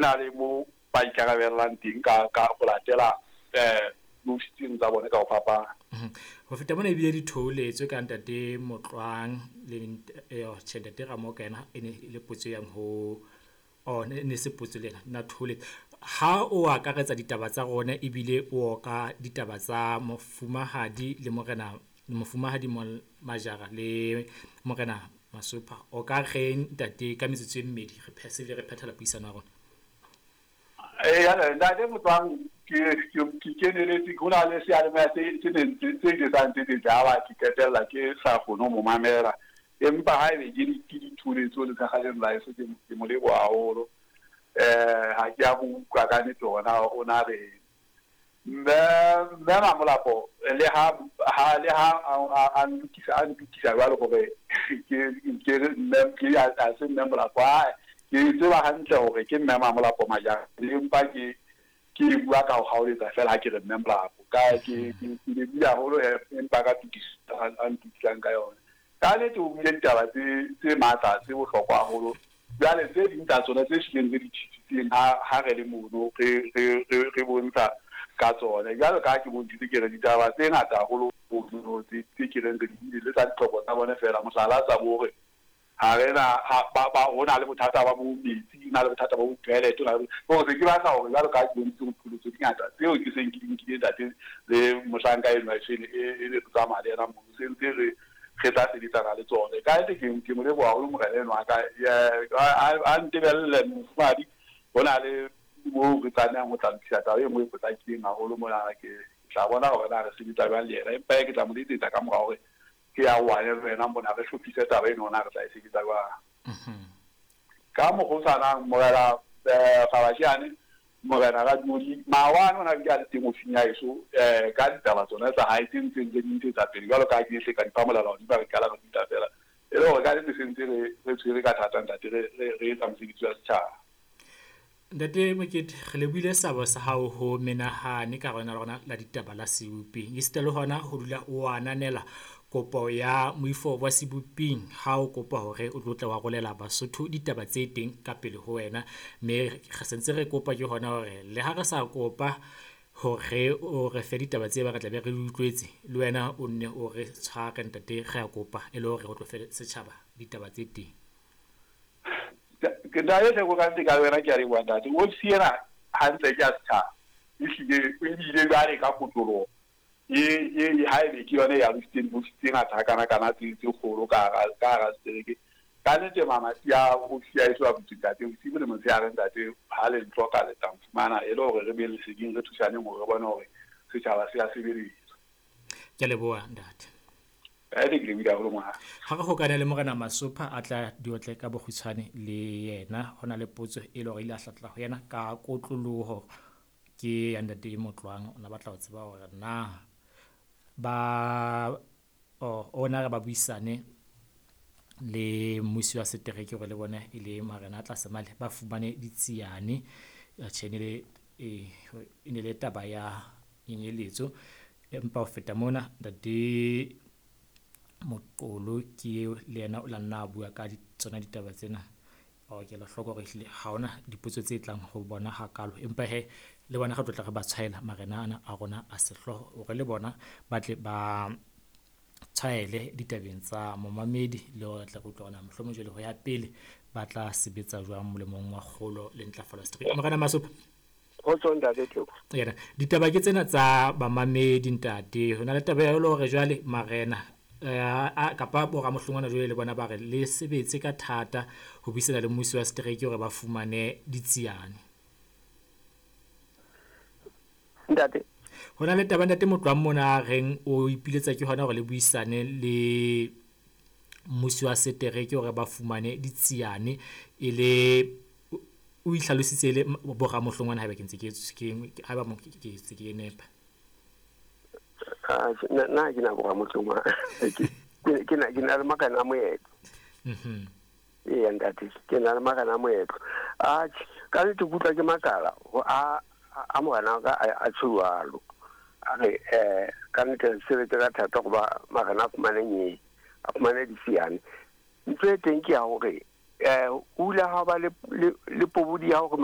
na le mo ba ikarabellang teng ka ka ho latela diofisi tseno tsa bone ka ho fapana. Ho feta mona ebile di theoletswe ka ntate Motlwang le tjhe, ntate Ramoka yena e ne e le potso e yang ho oh ne ne se potso le ena na theoletsa. Ha o akaretsa ditaba tsa rona ebile o oka ditaba tsa mofumahadi le morena mofumahadi Majara le morena Masopha, o ka reng ntate ka metsotso e mmedi re se re phethela puisano ya rona? Eya, ntate Motlwang, ke keneletse ho na le seyalemoya se neng se ile sa ntetsetsa ya ba ke qetella ke sa kgone ho mo mamela. Empa haebe ke ditholetso le kgaleng la heso, ke mo leboha haholo. Ha ke a mo utlwa ka nnete hore na o na reng. Mme Mamolapo le ha ha le ha a ntukisa a ntukisa jwalo hore ke re mme ke ha se mme Molapo, ae ke tseba hantle hore ke mme Mamolapo Majara, empa ke bua ka ho kgaoletsa fela ha ke re mme Molapo. Ka ke lebohile haholo empa ka tokiso a ntukisang ka yona. Ka nnete o buile ditaba tse matla tse bohlokwa haholo. Jwale tse ding tsa tsona tse hlileng re di tjhisitseng ha re le mono re bontsha ka tsone. Jwalo ka ha ke bontshitse ke re ditaba tse ngata haholo mono tse ke reng re di buile le tsa ditlhoko tsa bone fela. Mohlala tsa bo hore ha re na ha ba ba ho na le bothata ba bo metsi, ho na le bothata ba bo toilet, ho na le hore se ke batla hore jwalo ka ha ke bontshitse hore diqholotso di ngata tseo ke seng ke di nkile ntate le mohlanka enwa e e ne re tsamaya le yena mono, se ntse re tla sebetsana le tsone. Ka nnete ke mo leboha haholo morena enwa wa ka, a ntebelle mofumahadi, ho na le moo re tlamehang ho tla lokisa taba e nngwe e potlakileng haholo mona. Ke tla bona hore na re sebetsa jwang le yena, empa ke tla mo letsetsa ka mora hore ke arohane le wena mona, re hlophise taba eno hore na re tla e sebetsa jwang. Ka mokgwa o tshwanang, morena Gabasheane, morena Radioli, maobane o na bile a le teng ofising ya heso ka ditaba tsona tsa hae tse ntseng re di ntshetsa pele jwalo ka ha ke hle ka di fa molala hodimo ha re qala re dula fela. E le hore ka nnete se ntse re tshwere ka thata ntate, re etsa mosebetsi wa setjhaba. Ntate Mokete, re lebohile seabo sa hao ho menahane ka hare rona la ditaba la seboping. Esita le hona ho dula o ananela kopo ya moifo wa seboping ha o kopa hore o tlo tla wa rolela Basotho ditaba tse teng ka pele ho wena. Mme re sentse re kopa ke hona hore le ha re sa kopa hore o re fe ditaba tse ba re tla be re di utlwetse, le wena o nne o re tshware ntate, re a kopa e le hore o tlo fe setjhaba ditaba tse teng. Ke ntate Theko, ka nnete ka wena ke a leboha ntate. Ofisi ena hantle ke ya setjhaba, ehlile ebile jwale ka kotloloho e haebe ke yona e alositseng diofisi tse ngata hakana-kana tse kgolo ka hara setereke. Ka nnete mamati a ofisi ya heso a butswe ntate, bosibu le motshehare ntate, ha le ntlhoka le tla nfumana e le hore re be leseding, re thusaneng hore re bone hore setjhaba se a sebeletswa. Ke a leboha ntate. Ke lebohile haholo monghadi. Ha re hokane le morena Masopha a tla diotle ka bokgutshwane le yena, ho na le potso e le hore ile a hlatla ho yena ka kotloloho ke ya ntate Motlwang. O na batla ho tseba hore na ba ona re ba buisane le mmusi wa setereke hore le bona e le marena a tlase male ba fumane ditsiane. Tjhe, e ne le taba ya nyenyeletso. Empa ho feta mona ntate Moqolo ke eo le yena o la nna a bua ka tsona ditaba tsena. Ke ela hloko hore ehlile ha hona dipotso tse tlang ho bona hakalo, empa hee le bona re tlo tla re ba tshwaela marena ana a rona a sehlooho hore le bona ba tle ba tshwaele ditabeng tsa momamedi, le hore re tle re utlwe hore na mohlomong jwale ho ya pele ba tla sebetsa jwang molemong wa kgolo le ntlafalo ya setereke. Morena Masopha. Kgotso ntate Theko. Yena ditaba ke tsena tsa bamamedi ntate. Ho na le taba ya hore jwale marena kapa boramohlongwana jwale le bona ba re le sebetse ka thata ho buisana le mmusi wa setereke hore ba fumane ditsiane. Ntate. Ho na le taba ntate Motlwang mona a reng o ipiletsa ke hona hore le buisane le mmusi wa setereke hore ba fumane ditsiane, e le o itlhalositse le boramohlongwana haeba ke ntse ke haeba ke ntse ke nepa. Nna ke na boramohlongwana. Ke na le marena a moetlo. Eya ntate, ke na le marena a moetlo. Atjhe, ka nnete ke utlwa ke makala a morena wa ka a tjho jwalo. A re ka nnete re sebetse ka thata hoba marena a fumane nyee, a fumane ditsiane. Ntho e teng ke ya hore o ile ha ba le pobodi ya hore